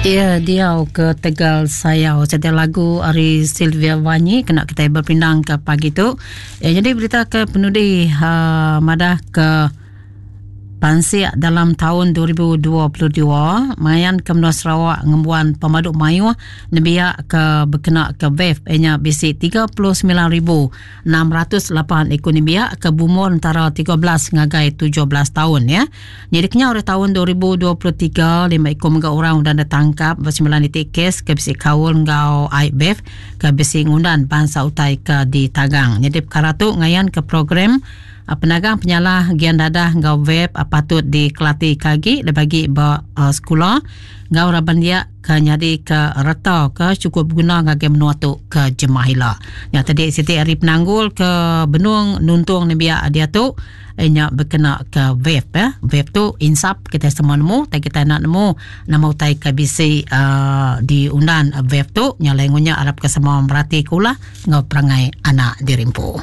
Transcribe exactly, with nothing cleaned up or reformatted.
Iya diau ke Tegal Sayau. Siti lagu ari Sylvia Wanyi kena kitai bepindang ke pagi tu. Ya, jadi berita ke penudi uh, madah ke pansik dalam taun dua ribu dua puluh dua mayan ke menua Sarawak ngembuan pemadu mayuh nembiak ke bekena ke vape ianya bisi tiga puluh semilan ribu enam ratus lapan iku nembiak ke berumur antara tiga belas ngagai tujuh belas taun ya. Jadi kenyau ari taun dua ribu dua puluh tiga lima iku mega orang udah ditangkap ba sembilan titik kes ke bisi kaul enggau ai vape ke bisi ngundan bansa utai ke ditagang. Jadi perkara tu ngayan ke program penagang penyalah gian dadah enggau vape patut dikelati ke agi dibagi ba uh, sekolah enggau raban dia ke nyadi ke reta ke cukup berguna ngagai menua tu ke jemah ila. Nya tadi siti hari penanggul ke benung nuntung nembiak dia tu nya berkena ke vape ya. Vape tu insap kita semua nemu, tapi kita nak nemu nama utai ke bisi uh, diundan vape tu nya lain ngunya arap ke semua merati kulah enggau perangai anak dirimpu.